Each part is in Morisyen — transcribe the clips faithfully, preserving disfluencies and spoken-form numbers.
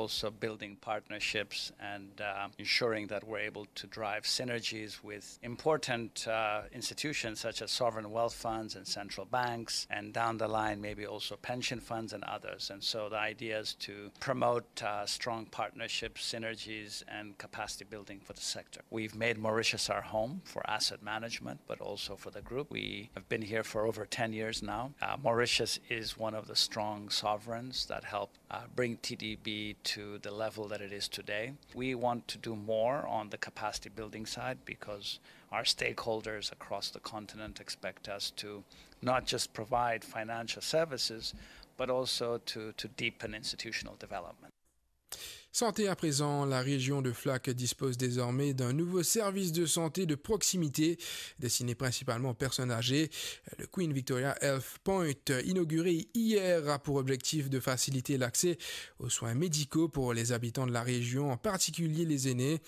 Also building partnerships and uh, ensuring that we're able to drive synergies with important uh, institutions such as sovereign wealth funds and central banks, and down the line, maybe also pension funds and others. And so the idea is to promote uh, strong partnerships, synergies, and capacity building for the sector. We've made Mauritius our home for asset management, but also for the group. We have been here for over ten years now. Uh, Mauritius is one of the strong sovereigns that help uh, bring T D B to the level that it is today. We want to do more on the capacity building side because our stakeholders across the continent expect us to not just provide financial services, but also to, to deepen institutional development. Santé à présent, la région de Flac dispose désormais d'un nouveau service de santé de proximité, destiné principalement aux personnes âgées. Le Queen Victoria Health Point, inauguré hier, a pour objectif de faciliter l'accès aux soins médicaux pour les habitants de la région, en particulier les aînés.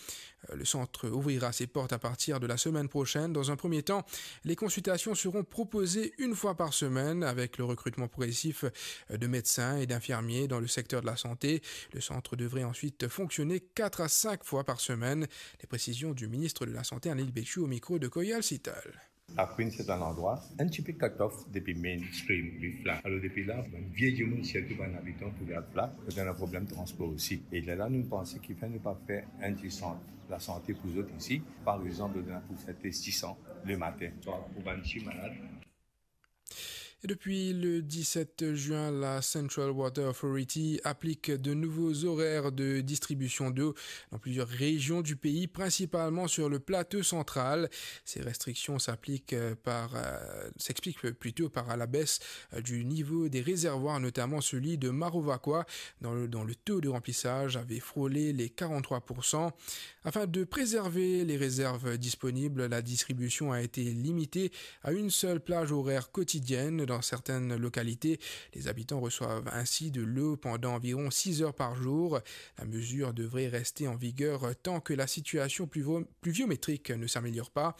Le centre ouvrira ses portes à partir de la semaine prochaine. Dans un premier temps, les consultations seront proposées une fois par semaine avec le recrutement progressif de médecins et d'infirmiers dans le secteur de la santé. Le centre devrait ensuite fonctionner quatre à cinq fois par semaine. Les précisions du ministre de la Santé, Anil Bechu, au micro de Koyal Sital. Aquin, se enn landrwa enn tipe cut-off depi mainstream, li Flac. Alor, depi la, bann vie dimoun, sirtou bann abitan pou al Flac, ena problem transpor osi. E lerla, nou panse kifer nou pa fer enn ti sant lasante pou zot isi. Par exanp, nou ena pou fer tes disan lematin. Donk, pou bann ti malad, Et depuis le dix-sept juin, la Central Water Authority applique de nouveaux horaires de distribution d'eau dans plusieurs régions du pays, principalement sur le plateau central. Ces restrictions s'appliquent, euh, par, euh, s'expliquent plutôt par la baisse, euh, du niveau des réservoirs, notamment celui de Marovakwa, dans le, dont le taux de remplissage avait frôlé les quarante-trois pour cent. Afin de préserver les réserves disponibles, la distribution a été limitée à une seule plage horaire quotidienne dans certaines localités. Les habitants reçoivent ainsi de l'eau pendant environ six heures par jour. La mesure devrait rester en vigueur tant que la situation pluvio-, pluviométrique ne s'améliore pas.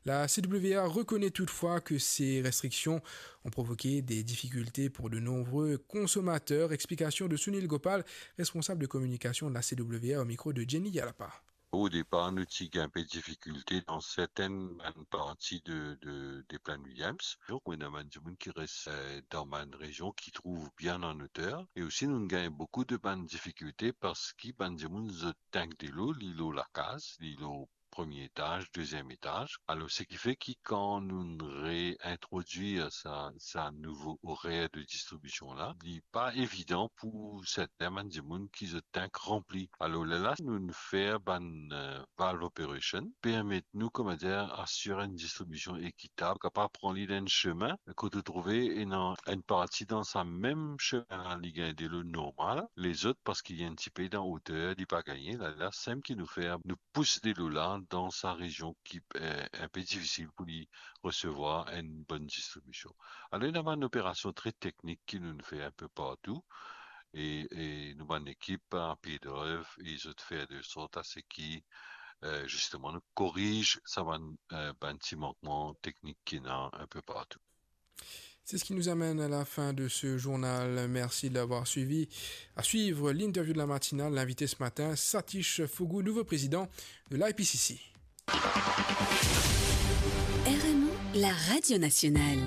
La C W A reconnaît toutefois que ces restrictions ont provoqué des difficultés pour de nombreux consommateurs. Explication de Sunil Gopal, responsable de communication de la C W A, au micro de Jenny Yalapa. O depar, nou ti gagn inpe difikilte dan sertenn bann parti de, de, de Plaine Williams. Donk, ena bann dimoun ki res, eh, dan bann rezion ki trouv bien an oter. E osi, nou gagn boukou de bann difikilte parski bann dimoun zot tank delo, li lor lakaz, li lor premie etaz, deziem etaz. Alor, seki fer ki kan nou reintrodwir sa, sa nouvo orer de distribision la, li pa evidan pou serten bann dimoun ki zot tank ranpli. Alor, lerla, nou fer bann, eh, valve operation, permet nou, kouma dir, asir enn distribision ekitab, kapav pran li dan enn semin, kot ou trouve ena enn parti dan sa mem semin la, li gagn delo normal, lezot, parski li enn tipe dan oter, li pa gagne. Lerla, seki nou fer, nou pous delo la dan sa rezion ki, eh, inpe difisil pou li resevwar enn bonn distribision. Alor, ena bann operasion tre teknik ki nou fer inpe partou, e, e nou bann ekip a pie drev, e zot fer de sort a seki, eh, zisteman, nou koriz sa bann, eh, bann ti mankman teknik ki ena inpe partou. C'est ce qui nous amène à la fin de ce journal. Merci de l'avoir suivi. À suivre l'interview de la matinale, l'invité ce matin, Satish Phogu, nouveau président de l'I P C C. R M O, la radio nationale.